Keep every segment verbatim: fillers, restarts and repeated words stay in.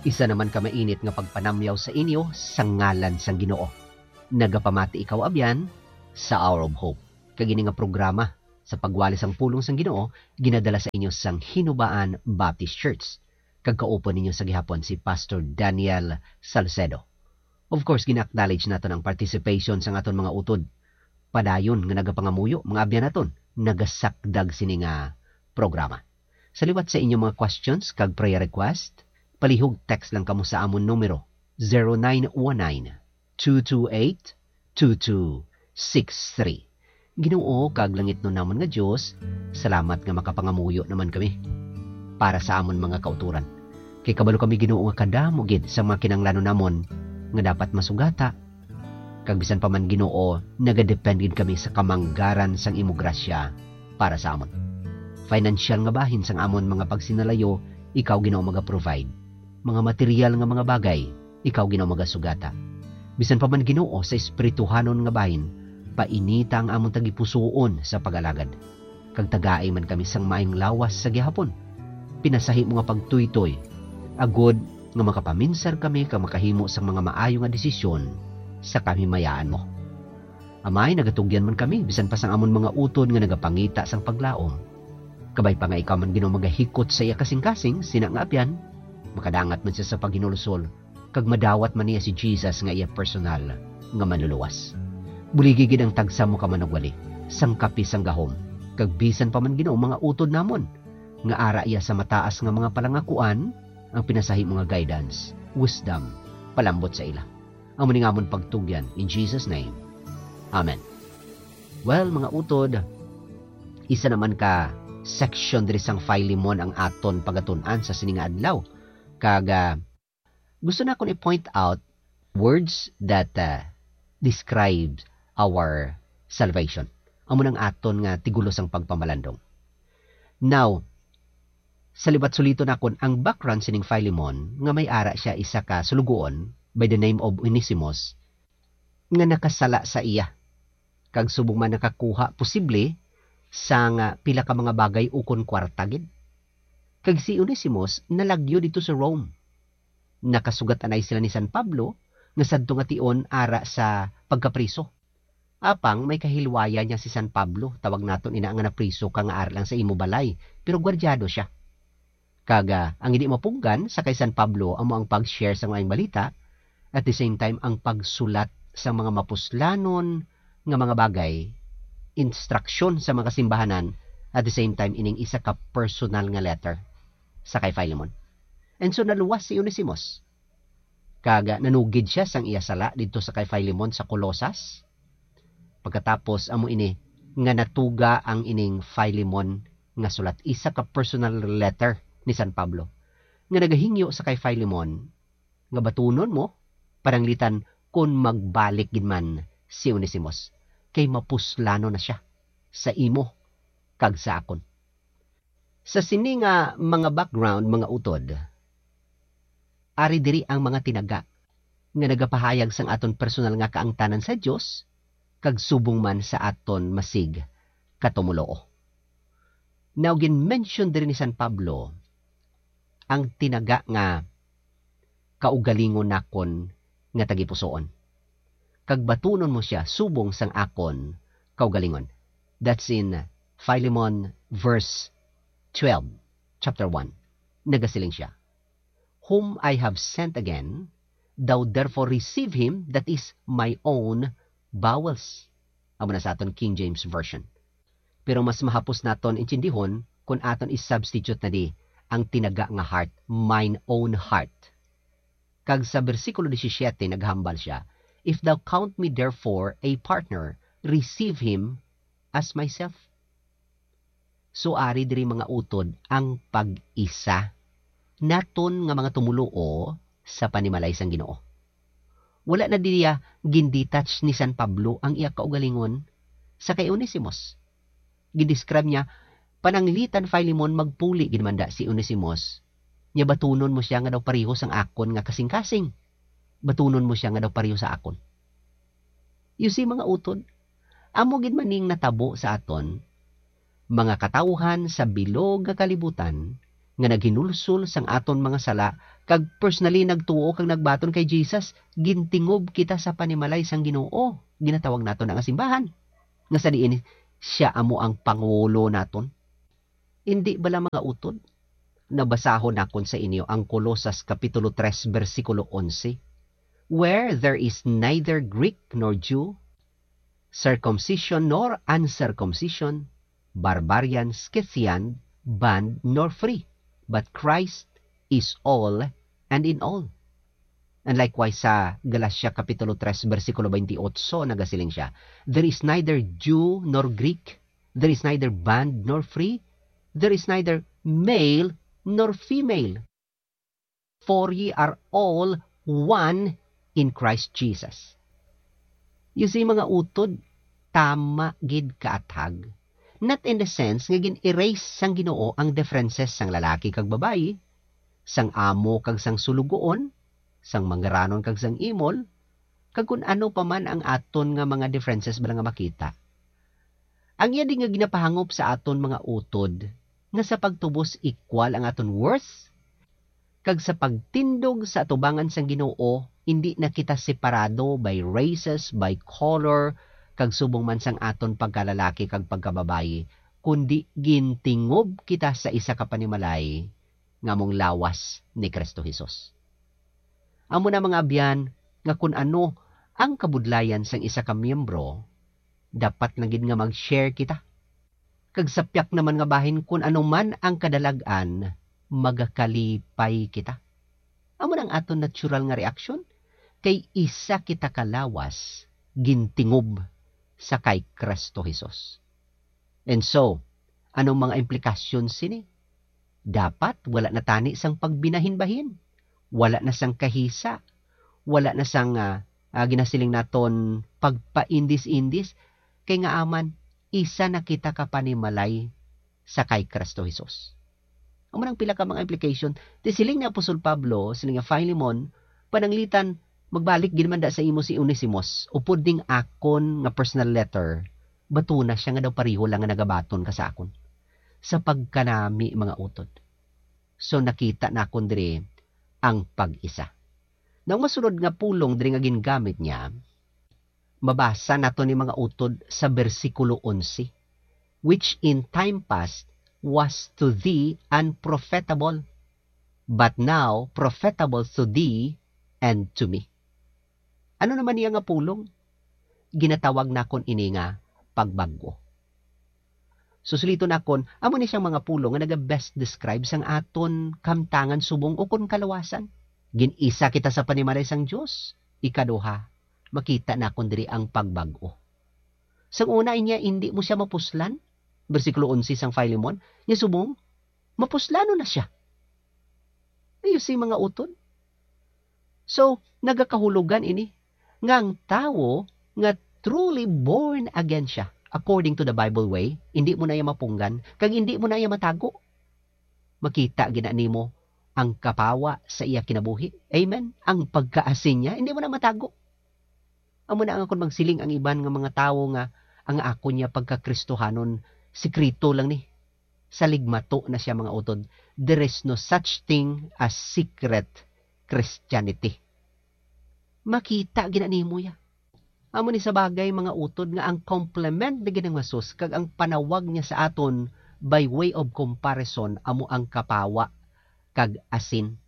Isa naman ka mainit nga pagpanamyaw sa inyo sa ngalan sang Ginoo. Nagapamati ikaw, abyan, sa Hour of Hope. Kag ini nga programa sa pagwali sang pulong sang Ginoo ginadala sa inyo sang Hinubaan Baptist Church. Kag kaupod ninyo sa gihapon si Pastor Daniel Salcedo. Of course, gina-acknowledge naton ang participation sang aton mga utod padayon nga nagapangamuyo, mga abyan naton, nagasakdag sini nga programa. Sa liwat sa inyong mga questions kag prayer request, palihog text lang kamo sa amon numero, zero nine one nine, two two eight, two two six three. Ginoo kag langitnon namon nga Dios, salamat nga makapangamuyo naman kami para sa amon mga kautoran. Kay kabalo kami, Ginoo, nga kadamo gid sa mga kinahanglanon namon nga dapat masugata, kag bisan pa man, Ginoo, nagadepend gid kami sa kamanggaran sang imo grasya para sa amon. Financial nga bahin sang amon mga pagsinalayo, ikaw, Ginoo, maga-provide. Mga material nga mga bagay, ikaw, Ginoo, magasugata. Bisan pa man, Ginoo, sa espirituhanon nga bahin, painita ang amon tagipusoon sa pag-alagad. Kag tagai man kami sang maayong lawas sa gihapon. Pinasahi mo nga pagtuytoy, agod nga makapaminsar kami kag makahimo sang mga maayo nga desisyon sa kahimayaan mo. Amay, nagatugyan man kami bisan pa sang amon mga utod nga nagapangita sang paglaom. Kabay pa nga ikaw man, Ginoo, magahikot sa iya kasingkasing, sina nga abyan, makadangat man siya sa paghinulsol, kag madawat man niya si Jesus nga iya personal nga Manluluwas. Buligi gid ang tagsa mo ka manugwali, sang kapi sang gahom, kag bisan pa man, Ginoo, mga utod namon nga ara iya sa mataas nga mga palangakuan, ang pinasahi mo nga guidance, wisdom, palambot sa ila. Amo ni nga amon pagtugyan, in Jesus' name. Amen. Well, mga utod, isa naman ka section diri sang Filemon ang aton pagatun-an sa sini nga adlaw. Kag, ah, gusto nakon i-point out words that, ah, describe our salvation. Amo nang aton nga tigulo sang pagpamalandong. Now, sa liwat suliton nakon ang background sining Filemon, nga may ara siya isa ka sulugoon by the name of Onesimus, nga nakasala sa iya, kag subong man nakakuha posible sang pila ka mga bagay ukon kwarta gid. Kag si Onesimus nalagyo didto sa Rome. Nakasugat anay sila ni San Pablo nga sadto nga tion ara sa pagkapriso. Apang may kahilwaya niya si San Pablo, tawag naton ina nga napriso ka nga ara lang sa imo balay, pero gwardyado sia. Kag, ah, ang hindi mapunggan sa kay San Pablo amo ang pag-share sa Maayong Balita, at the same time ang pagsulat sa mga mapuslanon nga mga bagay, instruction sa mga simbahanan, at the same time ining isa ka personal nga letter sa kay Filemon. And so naluwas si Onesimus, kag nanugid sia sang iya sala didto sa kay Filemon sa Colosas. Pagkatapos, amo ini nga natuga ang ining Filemon nga sulat, isa ka personal letter ni San Pablo nga nagahingyo sa kay Filemon nga batunon mo, pananglitan kon magbalik gid man si Onesimus, kay mapuslanon na sia sa imo kag sa akon. Sa sini nga mga background, mga utod, ari diri ang mga tinaga nga nagapahayag sang aton personal nga kaangtanan sa Dios kag subong man sa aton masig katumoluo. Now, gin-mention diri ni San Pablo ang tinaga nga kaugalingon nakon nga tagipusoon, kag batunon mo sia subong sang akon kaugalingon. That's in Philemon verse twelve, chapter one. Nagasiling sia, "Whom I have sent again, thou therefore receive him that is my own bowels." Amo na sa aton King James Version. Pero mas mahapos naton intindihon kon aton i-substitute na di ang tinaga nga heart, "mine own heart." Kag sa bersikulo disisiete naghambal sia, "If thou count me therefore a partner, receive him as myself." So, ari diri, mga utod, ang pag-isa naton nga mga tumoluo sa panimalay sang Ginoo. Wala na diya gindetach ni San Pablo ang iya kaugalingon sa kay Onesimus. Gindescribe niya, "Pananglitan, Filemon, magpuli gid man da si Onesimus, nya batunon mo sia nga daw pareho sang akon nga kasingkasing. Batunon mo sia nga daw pareho sa akon." You see, mga utod, amo gid man ning natabo sa aton, mga katawuhan sa bilog nga kalibutan nga naghinulsol sang aton mga sala kag personally nagtuo kag nagbaton kay Jesus, gintingob kita sa panimalay sang Ginoo. Ginatawag naton nga simbahan. Nga sa diin siya amo ang pangulo naton. Indi bala, mga utod? Nabasahon nakon sa inyo ang Colosas Kapitulo tres, bersikulo onse, "Where there is neither Greek nor Jew, circumcision nor uncircumcision, barbarian, Scythian, bond nor free, but Christ is all and in all." And likewise sa Galacia Kapitulo tres, bersikulo twenty-eight, nagasiling siya, "There is neither Jew nor Greek, there is neither bond nor free, there is neither male nor female, for ye are all one in Christ Jesus." You see, mga utod, tama gid kaathag. Not in the sense nga gin-erase sang Ginoo ang differences sang lalaki kag babayi, sang amo kag sang sulugoon, sang manggaranon kag sang imol, kag kun ano pa man ang aton nga mga differences bala nga makita. Ang iya di nga ginapahangop sa aton, mga utod, nga sa pagtubos equal ang aton worth, kag sa pagtindog sa atubangan sang Ginoo, indi na kita separado by races, by color, kag subong man sang aton pagkalalaki kag pagkababayi, kundi gintingob kita sa isa ka panimalay nga among lawas ni Cristo Jesus. Amo na, mga abyan, nga kun ano ang kabudlayan sang isa ka miyembro, dapat lang gid nga mag-share kita. Kag sa piak naman nga bahin, kun ano man ang kadalag-an, magakalipay kita. Amo na ang aton natural nga reaksyon, kay isa kita ka lawas gintingob sa kay Cristo Jesus. And so, anong mga implikasyon sini? Dapat wala na tani sang pagbinahinbahin, wala na sang kahisa, wala na sang, ah, ah, ginasiling naton pagpaindis-indis, kay nga aman, isa na kita ka panimalay sa kay Cristo Jesus. Amo nang pila ka mga implication. Ti siling ni Apostol Pablo, siling nga, "Filemon, pananglitan, magbalik gid man da sa imo si Onesimos, upod ning akon nga personal letter, batuna siya nga daw pareho lang nga nagabaton ka sa akon." Sa pagkanami, mga utod. So, nakita nakon diri ang pag-isa. Now, ang masunod nga pulong diri nga gingamit niya, mabasa nato ni, mga utod, sa bersikulo onse, "Which in time past was to thee unprofitable, but now profitable to thee and to me." Ano naman niya nga pulong? Ginatawag nakon ini nga pagbag-o. Susuliton nakon, amo ni siyang mga pulong nga naga-best describe sang aton kamtangan subong ukon kaluwasan. Gin-isa kita sa panimalay sang Dios. Ikaduha, makita nakon diri ang pagbag-o. Sang una, inya, indi mo siya mapuslan. Bersikulo onse sang Filemon, nya subong, mapuslano na siya. You see, mga utod? So, nagakahulugan ini nga ang tawo nga truly born again siya, according to the Bible way, indi mo na iya mapunggan, kag indi mo na iya matago. Makita gid na nimo ang kapawa sa iya kinabuhi. Amen? Ang pagkaasin niya, indi mo na matago. Amo na nga kon magsiling ang iban nga mga tawo nga ang akon niya pagka-Kristohanon, sikreto lang ni. Saligmato na siya, mga utod. There is no such thing as secret Christianity. Makita gid na nimo ya. Amo ni sa bagay, mga utod, nga ang complement ni Ginoong Jesus kag ang panawag niya sa aton by way of comparison amo ang kapawa kag asin.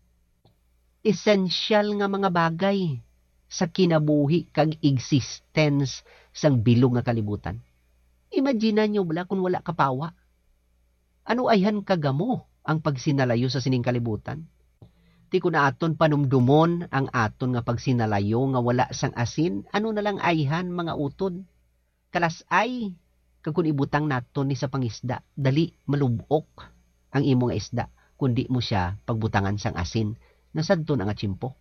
Esensyal nga mga bagay sa kinabuhi kag existence sang bilog nga kalibutan. Imagine niyo bala kung wala kapawa. Ano ayhan kagamo ang pagsinalayo sa sining kalibutan? Ti kun aton panumdomon ang aton nga pagsinalayo nga wala sang asin, ano na lang ayhan, mga utod? Kalas-ay, kag kun ibutang naton ni sa pangisda, dali malub-ok ang imo nga isda, kun di mo sia pagbutangan sang asin nga sadto na nga tiyempo.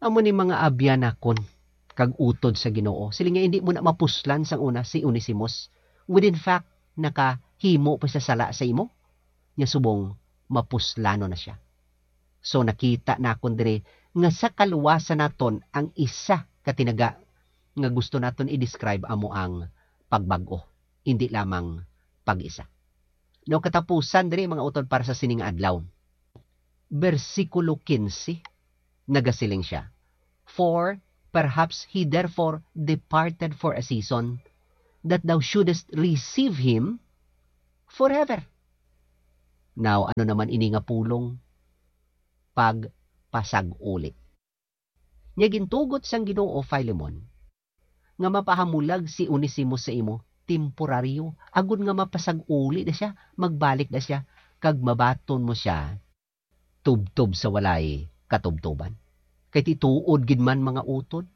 Amo ni, mga abyan nakon kag utod sa Ginoo, siling niya, indi mo na mapuslan sang una si Onesimos. With in fact, nakahimo pa siya sala sa imo, nya subong mapuslanon na sia. So, nakita nakon diri nga sa kaluwasan naton ang isa ka tinaga nga gusto naton i-describe amo ang pagbag-o, indi lamang pag-isa. No, katapusan diri, mga utod, para sa sining adlaw. Bersikulo kinse, nagasiling sia, "For perhaps he therefore departed for a season, that thou shouldest receive him forever." Now, ano naman ini nga pulong? Pagpasag-uli. Nya gintugot sang Ginoo, Filemon, nga mapahamulag si Onesimo sa imo temporaryo, agod nga mapasag-uli na sia, magbalik na sia, kag mabaton mo sia tubtob sa walay katubtoban. Kay ti tuod gid man, mga utod,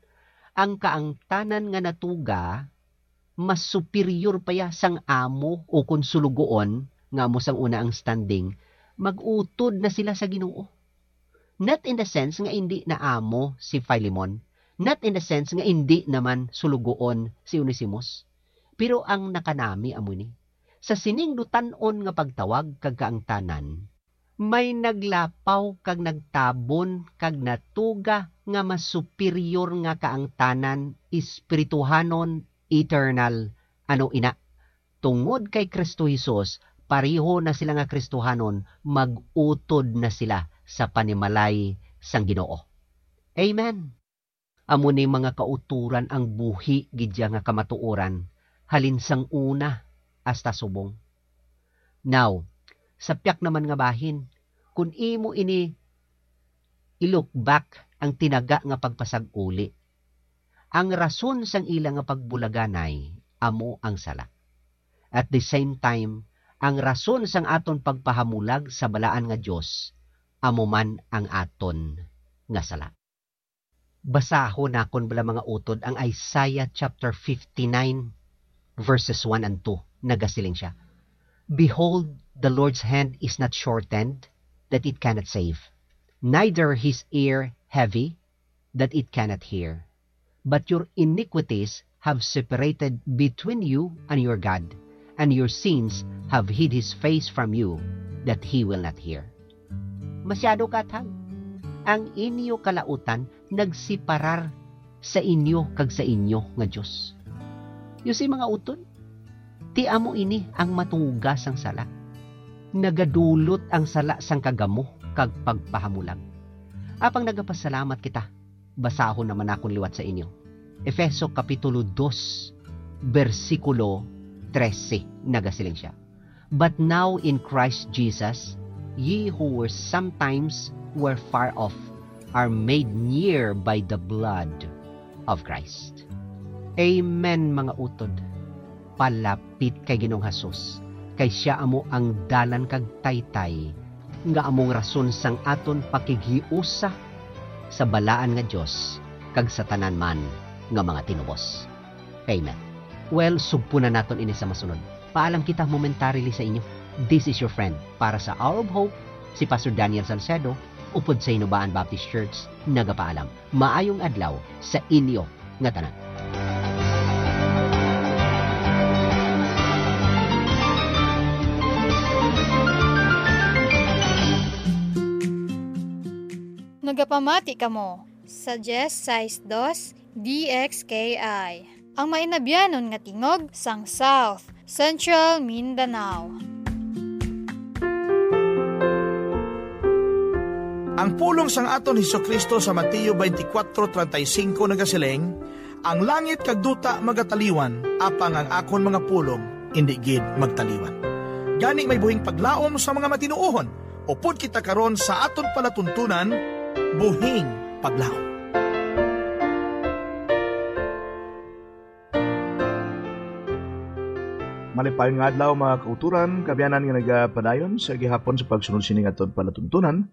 ang kaangtanan nga natuga mas superior pa ya sang amo o kon sulugoon nga amo sang una ang standing, mag-utod na sila sa Ginoo. Not in the sense nga indi na amo si Filemon, not in the sense nga indi naman sulugoon si Onesimus, pero ang nakanami amo ini. Sa sining dutan-on nga pagtawag kag kaangtanan, may naglapaw kag nagtabon kag natuga nga mas superior nga kaangtanan, espirituhanon, eternal. Ano ina? Tungod kay Cristo Jesus, pareho na sila nga Kristohanon, mag-utod na sila sa panimalay sang Ginoo. Amen. Amo ni mga kautoran ang buhi gid ya nga kamatuoran, halin sang una hasta subong. Now, sa piyak naman nga bahin, kun imo ini i-look back ang tinaga nga pagpasag-uli, ang rason sang ila nga pagbulaganay amo ang sala. At the same time, ang rason sang aton pagpahamulag sa balaan nga Dios amo man ang aton nga sala. Basahon nakon bala, mga utod, ang Isaiah chapter fifty-nine, verses one and two. Nagasiling sia, "Behold, the Lord's hand is not shortened that it cannot save, neither his ear heavy that it cannot hear. But your iniquities have separated between you and your God, and your sins have hid his face from you, that he will not hear." Masyado kathag. Ang inyo kalautan nagsiparar sa inyo kag sa inyo nga Dios. You see, mga utod, ti amo ini ang matuga sang sala. Nagadulot ang sala sang kagamo kag pagpahamulag. Apang nagapasalamat kita, basahon naman nakon liwat sa inyo. Efeso Kapitulo dos, bersikulo trese, nagasiling sia, "But now in Christ Jesus, ye who were sometimes were far off are made near by the blood of Christ." Amen, mga utod. Palapit kay Ginoong Jesus, kay sia amo ang dalan kag taytay, nga among rason sang aton pakighiusa sa balaan nga Dios kag sa tanan man nga mga tinubos. Amen. Well, sugpo na naton ini sa masunod. Paalam kita momentarily sa inyo. This is your friend para sa Hour of Hope, si Pastor Daniel Salcedo, upod sa Hinubaan Baptist Church, nagapaalam. Maayong adlaw sa inyo nga tanan. Nagapamati kamo sa diyes sais dos D X K I, ang mainabyanon nga tingog sang South Central Mindanao. Ang pulong sang aton Jesu-Cristo sa Mateo twenty-four thirty-five nagasiling, "Ang langit kag duta magataliwan, apang ang akon mga pulong indi gid magtaliwan." Gani, may buhing paglaom sa mga matinuohon. Upod kita karon sa aton palatuntunan, Buhing Paglaom. Malipayon nga adlaw, mga kauturan, kaabyanan nga nagapadayon sa gihapon sa pagsunod sining aton palatuntunan.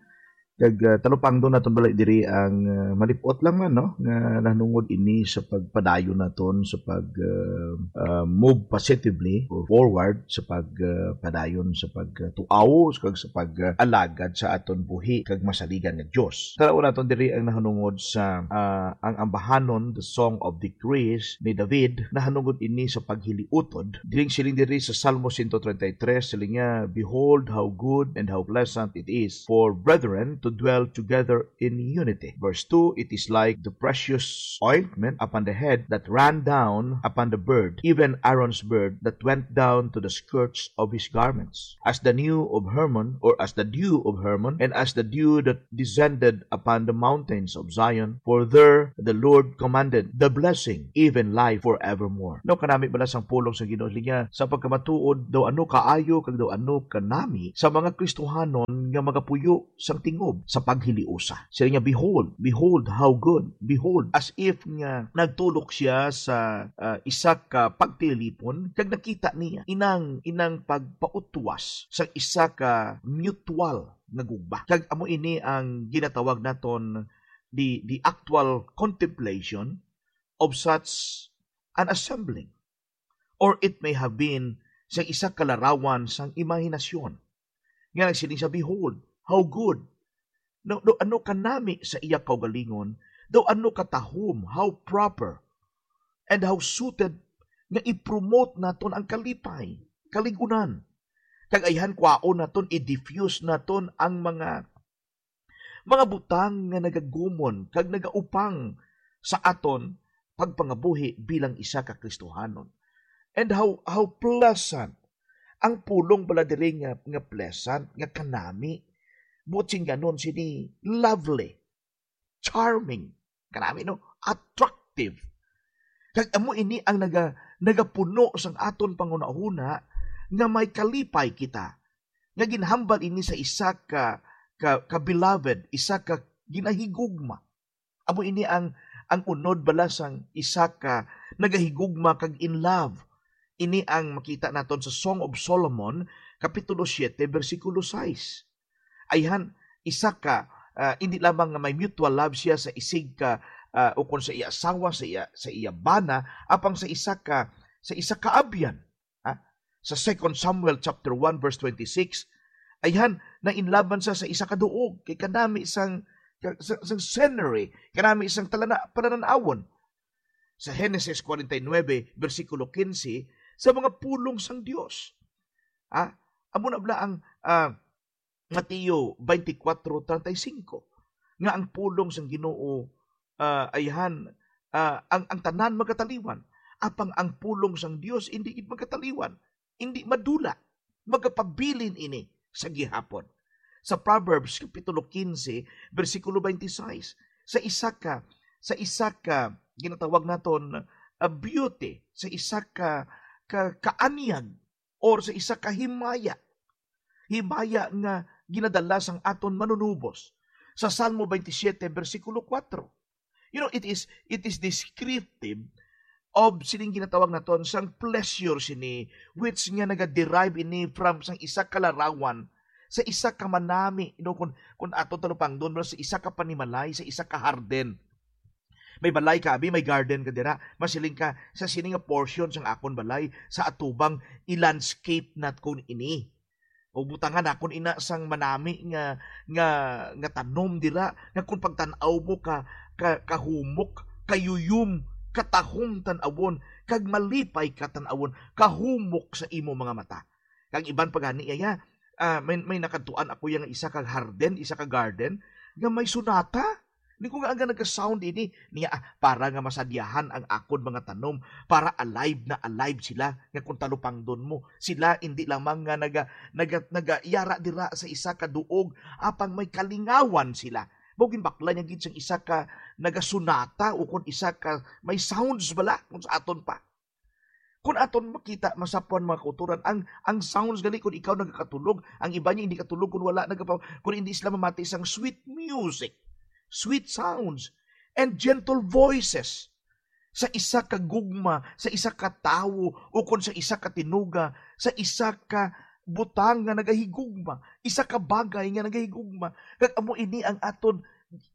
Kag, ah, talupangdon naton bala diri ang, ah, malip-ot lang man, no, nga nahanungod ini sa pagpadayon naton sa pag, ah, ah, move positively or forward sa pag, ah, padayon sa pag, ah, tuaw kag sa pag, ah, alagad sa aton buhi kag masaligan nga Dios. Tan-awon naton diri ang nahanungod sa, ah, ang ambahanon, the Song of Decrees ni David, nahanungod ini sa paghiliutod. Diri siling diri sa Salmo one thirty-three, siling niya, "Behold how good and how pleasant it is for brethren to dwell together in unity. Verse two, it is like the precious ointment upon the head that ran down upon the beard, even Aaron's beard that went down to the skirts of his garments. As the dew of Hermon, or as the dew of Hermon, and as the dew that descended upon the mountains of Zion, for there the Lord commanded the blessing, even life forevermore. No, kanami bala sang pulong sa Ginoo niya, sa pagkamatuod, daw ano kaayo, kag daw ano kanami sa mga Kristohanon nga magapuyo sang tingob sa paghiliusa. Siya niya, "Behold, behold, how good, behold," as if nga nagtulok siya sa, ah, isa ka pagtilipon, kag nakita niya inang, inang pagpautwas sa isa ka mutual nga gugma. Kag amo ini ang ginatawag naton the, the actual contemplation of such an assembling. Or it may have been sa isa ka larawan sang imahinasyon, nga nagsiling siya, "Behold, how good." No, no, ano kanami sa iya kaugalingon, daw ano katahom, how proper, and how suited nga i-promote naton ang kalipay, kaligunan. Kag ayhan, kwaon naton, i-diffuse naton ang mga, mga butang nga nagagumon kag nagaupang sa aton pagpangabuhi bilang isa ka Kristohanon. And how, how pleasant ang pulong bala diri nga, nga pleasant, nga kanami. Buot singganon sini, lovely, charming, kanami, no? Attractive. Kag amo ini ang naga-, nagapuno sang aton panghunahuna nga may kalipay kita, nga ginhambal ini sa isa ka, ka, ka beloved, isa ka ginahigugma. Amo ini ang, ang unod bala sang isa ka nagahigugma kag in love. Ini ang makita naton sa Song of Solomon, Kapitulo siete, bersikulo sais. Ayhan, isa ka, ah, hindi lamang nga may mutual love siya sa isig ka, ah, ukon sa iya asawa, sa iya, sa iya bana, apang sa isa ka, sa isa ka abyan. Ha? Sa Second Samuel chapter one verse twenty-six, ayhan, nainlaban sa, sa isa ka duog, kay kanami sang, sang, sang scenery, kanami sang talana-, pananan-awon. Sa Henesis forty-nine, bersikulo quince, sa mga pulong sang Dios. Ha? Amo na bala ang, ah, Mateo twenty-four treinta y cinco, nga ang pulong sang Ginoo, ah, ayhan, ah, ang, ang tanan magataliwan, apang ang pulong sang Dios indi gid magataliwan, indi madula, magapabilin ini sa gihapon. Sa Proverbs Kapitulo quince, bersikulo twenty-six, sa isa ka, sa isa ka ginatawag naton, ah, beauty, sa isa ka, ka, kaanyag, or sa isa ka himaya. Himaya nga ginadala sang aton Manunubos. Sa Salmo twenty-seven, bersikulo four. You know, it is, it is descriptive of sining ginatawag naton sang pleasure sini, which nga naga-derive ini from sang isa ka larawan, sa isa ka manami, you know, kung, kung aton talupangdon, sa isa ka panimalay, sa isa ka harden. May balay ka, abi, may garden ka dira. Masiling ka, "Sa sini nga portion sang akon balay, sa atubang, i-landscape naton ini. O butangan naton ina sang manami nga, nga, nga tanom dira, nga kung pagtan-aw mo ka, ka, kahumok, kayuyom, katahom tan-awon, kag malipay ka tan-awon, kahumok sa imo mga mata." Kag iban pa gani, iya, ah, may, may nakadtuan ako iya nga isa ka harden, isa ka garden, nga may sonata. Ni ko nga, "Ang naga-sound ini niya, ah, para nga masadyahan ang akon mga tanom, para alive na alive sila, nga kung talupangdon mo, sila indi lamang nga naga-, naga-, nagayara dira sa isa ka duog, apang may kalingawan sila." Mao ginbakla niya gid sang isa ka nagasonata, o kon isa ka may sounds bala, kung sa aton pa. Kung aton makita, masapwan, mga kauturan, ang, ang sounds gali, kung ikaw nagakatulog, ang iba niya hindi katulog kung wala nagapa-, kung hindi sila mamati sang sweet music, sweet sounds, and gentle voices sa isa ka gugma, sa isa ka tawo, o kon sa isa ka tinuga, sa isa ka butang nga nagahigugma, isa ka bagay nga nagahigugma. Kag amo ini ang aton,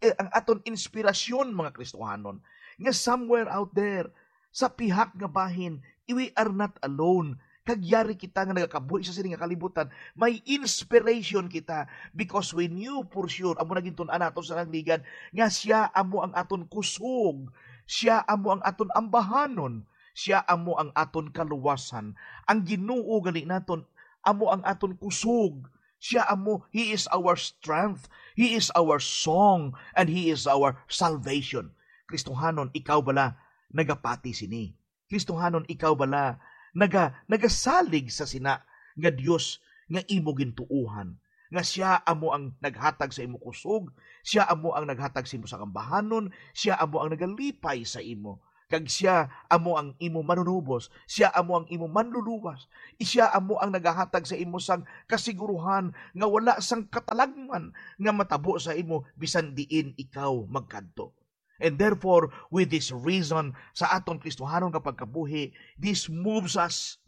eh, ang aton inspirasyon, mga Kristohanon, nga somewhere out there, sa pihak nga bahin, we are not alone. Kag yari kita nga nagakabuhi sa sini nga kalibutan, may inspiration kita, because we knew for sure, amo na gintun-an nato sa nangligan, nga siya amo ang aton kusog, siya amo ang aton ambahanon, siya amo ang aton kaluwasan. Ang Ginoo gali naton amo ang aton kusog, Siya amo, He is our strength, He is our song, and He is our salvation. Kristohanon, ikaw bala nagapati sini? Kristohanon, ikaw bala naga-, nagasalig sa sina nga Dios nga imo gintuohan, nga siya amo ang naghatag sa imo kusog, siya amo ang naghatag sa imo sang ambahanon, siya amo ang nagalipay sa imo, kag siya amo ang imo manunubos, siya amo ang imo manluluwas, siya amo ang nagahatag sa imo sang kasiguruhan nga wala sang katalagman nga matabo sa imo bisan diin ikaw magkadto. And therefore, with this reason, sa aton Kristohanon nga pagkabuhi, this moves us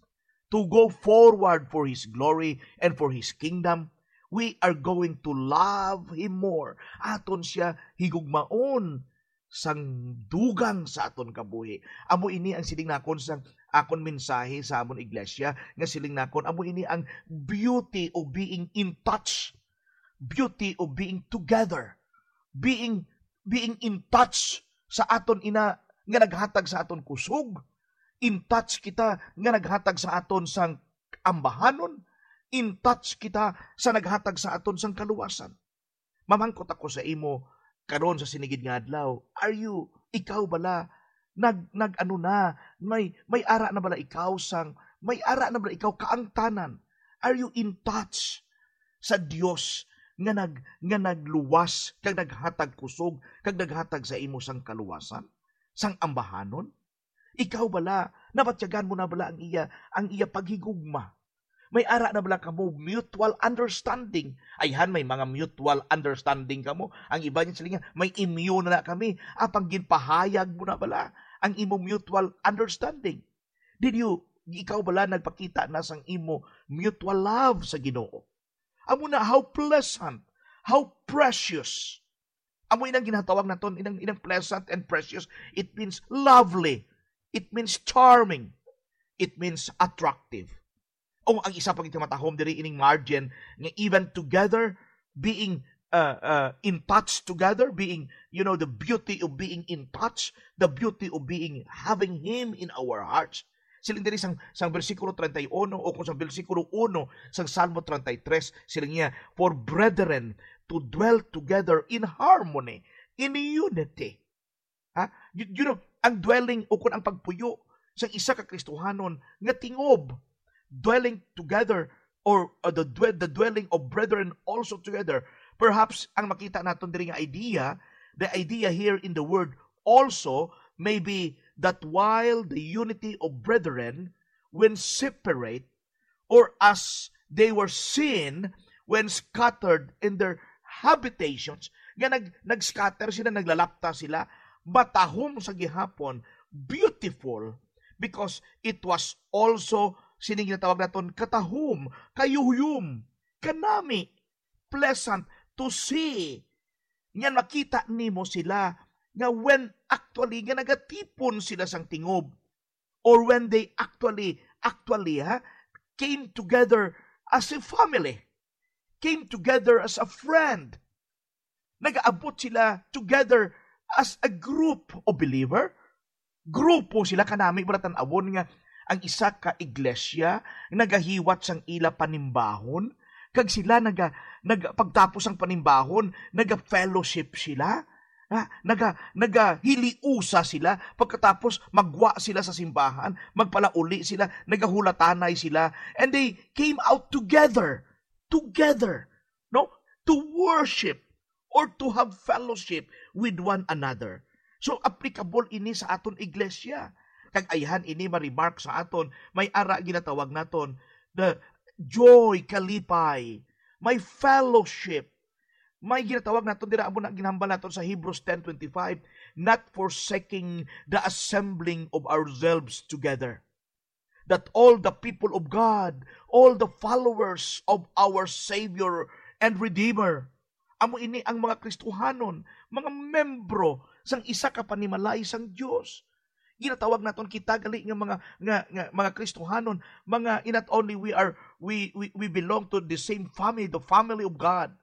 to go forward for His glory and for His kingdom. We are going to love Him more. Aton siya higugmaon sang dugang sa aton kabuhi. Amo ini ang siling nakon sa akon mensahe sa amon iglesia, nga siling nakon, amo ini ang beauty of being in touch, beauty of being together, being, being in touch sa aton ina nga naghatag sa aton kusog, in touch kita nga naghatag sa aton sang ambahanon, in touch kita sa naghatag sa aton sang kaluwasan. Mamangkot ako sa imo karon sa sinigid nga adlaw. Are you, ikaw bala, nag, nag ano na, may, may ara na bala ikaw sang, may ara na bala ikaw kaangtanan? Are you in touch sa Dios nga nag, nga nagluwas kag naghatag kusog kag naghatag sa imo sang kaluwasan, sang ambahanon? Ikaw bala, nabatyagan mo na bala ang iya, ang iya paghigugma? May ara na bala kamo mutual understanding? Ayhan, may mga mutual understanding kamo. Ang iba niya sila nga, may immune na kami. Apang ginpahayag mo na bala ang imo mutual understanding? Did you, ikaw bala nagpakita na sang imo mutual love sa Ginoo? Amo na, how pleasant, how precious. Amo inang ginatawag naton, inang, inang pleasant and precious. It means lovely. It means charming. It means attractive. O ang isa pa gid ka matahom diri ining margin nga even together, being uh, uh, in touch together, being, you know, the beauty of being in touch, the beauty of being, having Him in our hearts. Siling diri sang, sang bersikulo treinta y uno o kung sang bersikulo uno sang Salmo treinta y tres, siling niya, "For brethren to dwell together in harmony, in unity." Ha? You, you know, ang dwelling o kung ang pagpuyo sang isa ka Kristohanon nga tingob, dwelling together, or, uh, the dwe-, the dwelling of brethren also together. Perhaps ang makita naton diri nga idea, the idea here in the word also may be that while the unity of brethren, when separate, or as they were seen when scattered in their habitations, nga nag-, nag-scatter sila, naglalapta sila, matahom sa gihapon, beautiful, because it was also, sini ginatawag naton, katahom, kayuyom, kanami, pleasant to see. Ngan makita nimo sila nga when actually nga nagatipon sila sang tingob, or when they actually, actually, ha, came together as a family, came together as a friend. Nagaabot sila together as a group of believer. Grupo sila, kanami, bala, tan-awon nga ang isa ka iglesia nagahiwat sang ila panimbahon, kag sila naga-, naga-, pagtapos sang panimbahon, naga-fellowship sila. Ha? Naga-, nagahiliusa sila. Pagkatapos, magwa sila sa simbahan, magpalauli sila, nagahulatanay sila. And they came out together, together, no? To worship or to have fellowship with one another. So, applicable ini sa aton iglesia. Kag ayhan ini ma-remark sa aton, may ara ginatawag naton the joy, kalipay, may fellowship. May ginatawag naton dira, amo na ginhambal naton sa Hebrews ten twenty-five, "Not forsaking the assembling of ourselves together." That all the people of God, all the followers of our Savior and Redeemer, amo ini ang mga Kristohanon, mga membro sang isa ka panimalay sang Dios. Ginatawag naton kita gali nga mga, nga, nga mga Kristohanon, mga, not only we are, we, we, we belong to the same family, the family of God.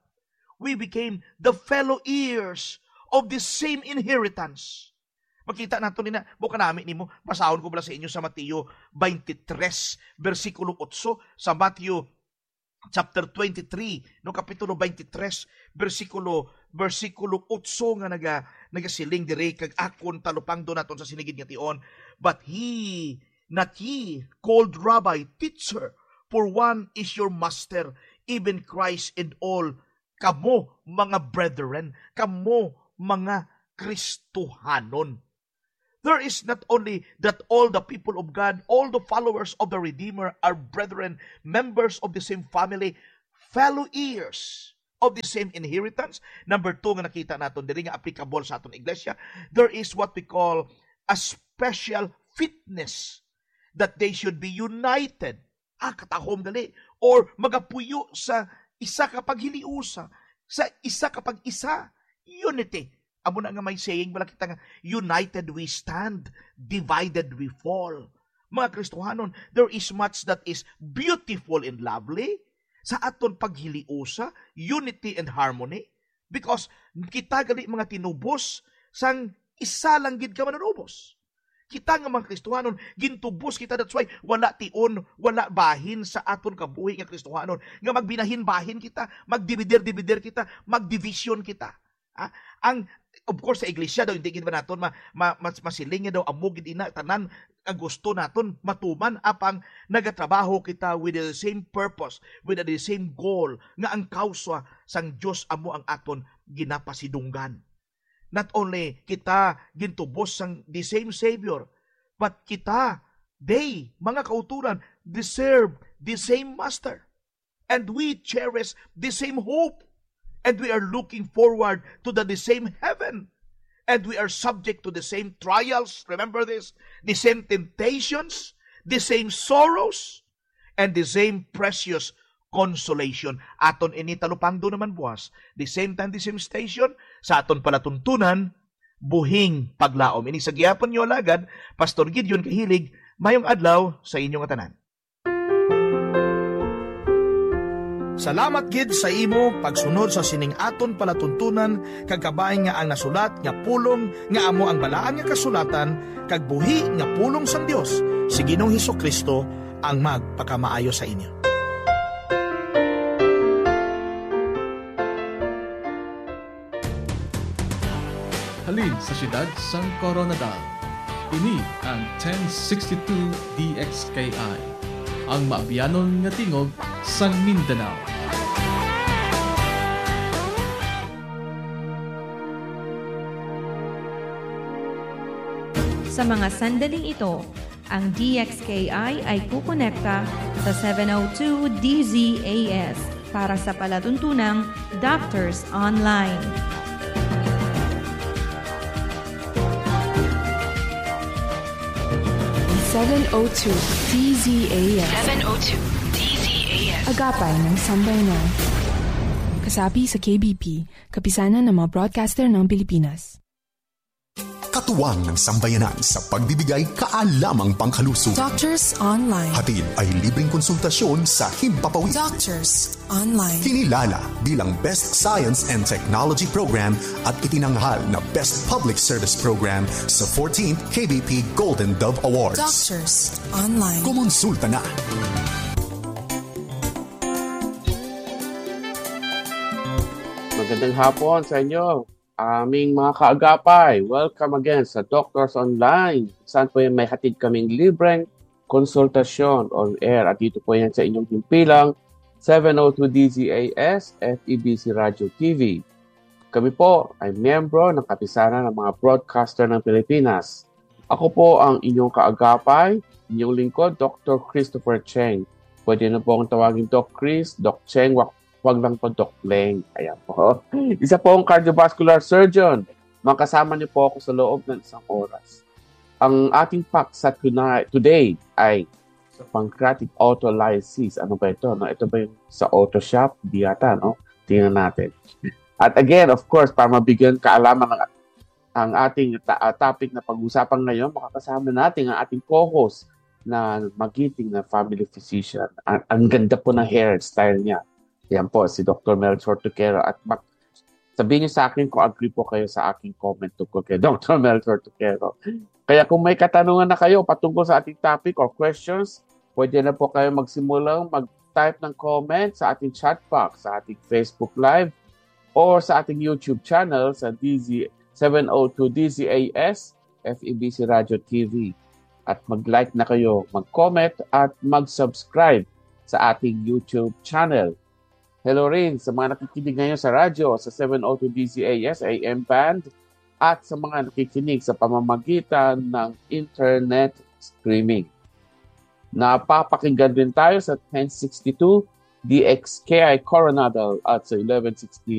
We became the fellow heirs of the same inheritance. Makita nato nina, mo kanami nimo, basahon ko bala sa inyo sa Mateo twenty-three, bersikulo otso, sa Mateo chapter twenty-three, no, kapitulo twenty-three, bersikulo, bersikulo otso nga naga-, nagasiling diri, kag akon talupangdo naton sa sinigid nga tion, "But he, not ye, called Rabbi, teacher, for one is your master, even Christ, and all kamo mga brethren, kamo mga Kristohanon." There is not only that all the people of God, all the followers of the Redeemer are brethren, members of the same family, fellow heirs of the same inheritance. Number two nga nakita naton diri nga applicable sa aton iglesia, there is what we call a special fitness that they should be united. Ah, katahom gali. Or magapuyo sa isa ka paghiliusa, sa isa ka pag-isa. Unity. Amo na nga may saying, wala kita nga, "United we stand, divided we fall." Mga Kristohanon, there is much that is beautiful and lovely sa aton paghiliusa, unity and harmony, because kita gali mga tinubos sang isa lang gid ka manunubos. Kita nga mga Kristohanon, gintubos kita. That's why wala tion, wala bahin sa aton kabuhi nga Kristohanon, nga magbinahin-bahin kita, magdibider-dibider kita, magdivision kita. Ah, ang, of course, sa iglesia daw, hindi gid ba naton ma-, ma-, mas-, masiling nga daw amo gid ina tanan ang gusto naton matuman, apang nagatrabaho kita with the same purpose, with the same goal, nga ang kausa sang Dios amo ang aton ginapasidunggan. Not only kita gintubos sang the same Savior, but kita, they, mga kauturan, deserve the same Master. And we cherish the same hope. And we are looking forward to the, the same heaven. And we are subject to the same trials. Remember this, the same temptations, the same sorrows, and the same precious consolation. Aton ini talupangdo naman buwas, the same time, the same station, sa aton palatuntunan, Buhing Paglaom. Ini sa gihapon niyo alagad, Pastor Gideon Kahilig. Mayong adlaw sa inyo nga tanan. Salamat gid sa imo pagsunod sa sining aton palatuntunan, kag kabay nga ang nasulat nga pulong nga amo ang Balaan nga Kasulatan kag buhi nga pulong sang Dios si Ginoong Jesu-Cristo ang magpakamaayo sa inyo. Halin sa siyudad sang Koronadal, ini ang ten sixty-two D X K I, ang maabianon nga tingog sang Mindanao. Sa mga sandaling ito, ang D X K I ay kukonekta sa seven oh two D Z A S para sa palatuntunang Doctors Online. Seven oh two D Z A S. Seven oh two D Z A S. Agapay ng Sambayanan. Kasapi sa K B P, Kapisanan ng mga Broadcaster ng Pilipinas. Katuwang ng sambayanan sa pagbibigay kaalamang pangkaluso. Doctors Online. Hatid ay libreng konsultasyon sa himpapawid. Doctors Online. Kinilala bilang Best Science and Technology Program at itinanghal na Best Public Service Program sa fourteenth K B P Golden Dove Awards. Doctors Online. Kumonsulta na. Magandang hapon sa inyo, aming mga kaagapay. Welcome again sa Doctors Online. Saan po yan may hatid kaming libreng konsultasyon on air. At dito po yan sa inyong himpilang seven oh two D Z A S, F E B C Radio T V. Kami po ay miyembro ng Kapisanan ng mga Broadcaster ng Pilipinas. Ako po ang inyong kaagapay, inyong lingkod, Doctor Christopher Cheng. Pwede na po akong tawagin Doc Chris, Doc Cheng, wag, wag lang po Doc Leng. Ayan po. Isa po akong cardiovascular surgeon. Makasama niyo po ako sa loob ng isang oras. Ang ating paksa tonight, today ay sa pancreatic autolysis. Ano ba ito? No? Ito ba yung sa auto shop? Di yata, no? Tingnan natin. At again, of course, para mabigyan kaalaman ng ang ating ta-, ah, topic na pag-usapan ngayon, makakasama natin ang ating co-host na magiting na family physician. Ang, ang ganda po ng hairstyle niya. Yan po, si Doctor Melchor Tuquero. At mak-, sabihin niyo sa akin kung agree po kayo sa aking comment tungkol kay Doctor Melchor Tuquero. Kaya kung may katanungan na kayo patungkol sa ating topic or questions, pwede na po kayo magsimulang mag-, mag-type ng comment sa ating chat box, sa ating Facebook Live, or sa ating YouTube channel sa D Z seven oh two D Z A S, F E B C Radio T V. At mag-like na kayo, mag-comment, at mag-subscribe sa ating YouTube channel. Hello rin sa mga nakikinig ngayon sa radyo sa seven oh two D Z A S A M band at sa mga nakikinig sa pamamagitan ng internet streaming. Napapakinggan din tayo sa ten sixty-two D X K I Coronadal at sa eleven sixty